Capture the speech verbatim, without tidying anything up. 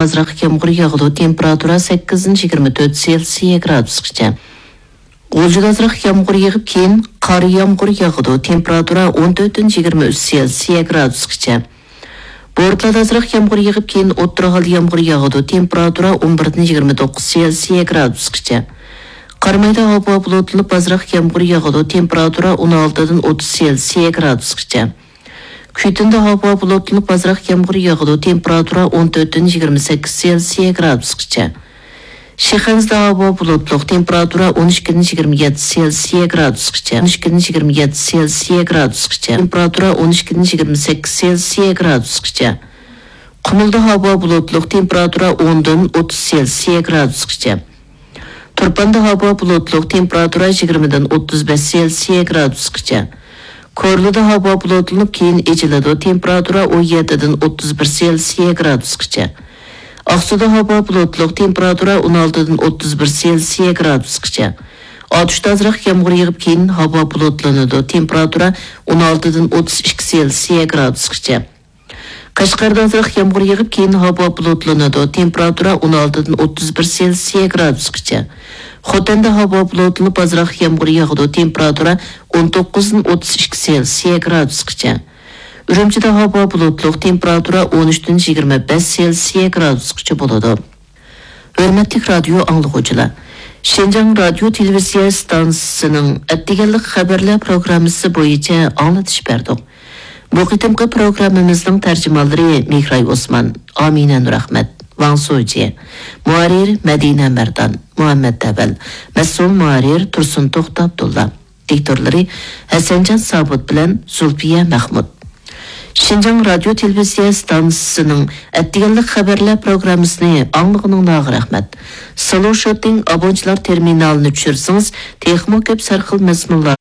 ئازراق يامغۇر ياغىدۇ، تېمپېراتۇرا سەككىزدىن يىگىرمە تۆت سېلسىيە گرادۇسقىچە. غۇلجىدا ئازراق يامغۇر يېغىپ، كېيىن قار يامغۇر ياغىدۇ، تېمپېراتۇرا ئون تۆتتىن يىگىرمە ئۈچ سېلسىيە گرادۇسقىچە. بورتالادا ئازراق يامغۇر يېغىپ، كېيىن ئوتتۇرا ھال يامغۇر ياغىدۇ، تېمپېراتۇرا ئون بىردىن يىگىرمە توققۇز سېلسىيە گرادۇسقىچە. قارامايدا ھاۋا بۇلۇتلىنىپ، ئازراق يامغۇر ياغىدۇ، تېمپېراتۇرا ئون ئالتىدىن ئوتتۇز سېلسىيە گرادۇسقىچە. كۈيتۇندا ھاۋا بۇلۇتلىنىپ، ئازراق يامغۇر ياغىدۇ، تېمپېراتۇرا ئون تۆتتىن يىگىرمە سەككىز سېلسىيە گرادۇسقىچە. شىخەنزىدە ھاۋا بۇلۇتلۇق، تېمپېراتۇرا ئون ئىككىدىن يىگىرمە يەتتە سېلسىيە گرادۇسقىچە، ئون ئىككىدىن يىگىرمە يەتتە سېلسىيە گرادۇسقىچە، تېمپېراتۇرا ئون ئىككىدىن يىگىرمە سەككىز سېلسىيە گرادۇسقىچە. قۇمۇلدا ھاۋا بۇلۇتلۇق، تېمپېراتۇرا ئوندىن ئوتتۇز سېلسىيە گرادۇسقىچە. تۇرپاندا ھاۋا بۇلۇتلۇق، تېمپېراتۇرا يىگىرمىدىن ئوتتۇز بەش سېلسىيە گرادۇسقىچە. كورلىدا ھاۋا بۇلۇتلىنىپ، كېيىن ئېچىلىدۇ، تېمپېراتۇرا ئون يەتتىدىن ئوتتۇز بىر سېلسىيە گرادۇسقىچە. ئاقسۇدا ھاۋا بۇلۇتلۇق، تېمپېراتۇرا ئون ئالتىدىن ئوتتۇز بىر سېلسىيە گرادۇسقىچە. ئاتۇشتا ئازراق يامغۇر يېغىپ، كېيىن ھاۋا بۇلۇتلىنىدۇ، تېمپېراتۇرا ئون ئالتىدىن ئوتتۇز ئىككى سېلسىيە گرادۇسقىچە. قەشقەردە ئازراق يامغۇر يېغىپ، كېيىن ھاۋا بۇلۇتلىنىدۇ، تېمپېراتۇرا ئون ئالتىدىن ئوتتۇز بىر سېلسىيە گرادۇسقىچە. خوتەندە ھاۋا بۇلۇتلىنىپ، ئازراق يامغۇر ياغىدۇ، تېمپېراتۇرا ئون توققۇزدىن ئوتتۇز ئىككى سېلسىيە گرادۇسقىچە. ئۈرۈمچىدە ھاۋا بۇلۇتلۇق، تېمپېراتۇرا ئون ئۈچتىن يىگىرمە بەش سېلسىيە گرادۇسقىچە بولىدۇ. ھۆرمەتلىك رادىيو ئاڭلىغۇچىلار، شىنجاڭ رادىيو تېلېۋىزىيە ئىستانسىسىنىڭ ئەتىگەنلىك خەۋەرلەر پروگراممىسى بويىچە ئاڭلىتىش بەردۇق. بۇ قېتىمقى پروگراممىمىزنىڭ تەرجىمانلىرى مېھراي ئوسمان، ئامىنە نۇرئەخمەت، ۋاڭ سوجيې، مۇھەررىر مەدىنە مەردان، مۇھەممەت ئەۋەل، مەسئۇل مۇھەررىر تۇرسۇن توختى ئابدۇللا. دىكتورلىرى ھەسەنجان سابىت بىلەن زۇلپىيە مەخمۇت. شىنجاڭ رادىيو تېلېۋىزىيە ئىستانسىسىنىڭ ئەتىگەنلىك خەۋەرلەر پروگراممىسىنى ئاڭلىغىنىڭلارغا رەھمەت. سلوشوتىڭ ئابونچىلار تېرمىنالىنى چۈشۈرسىڭىز، تېخىمۇ كۆپ سەرخىل مەزمۇنلار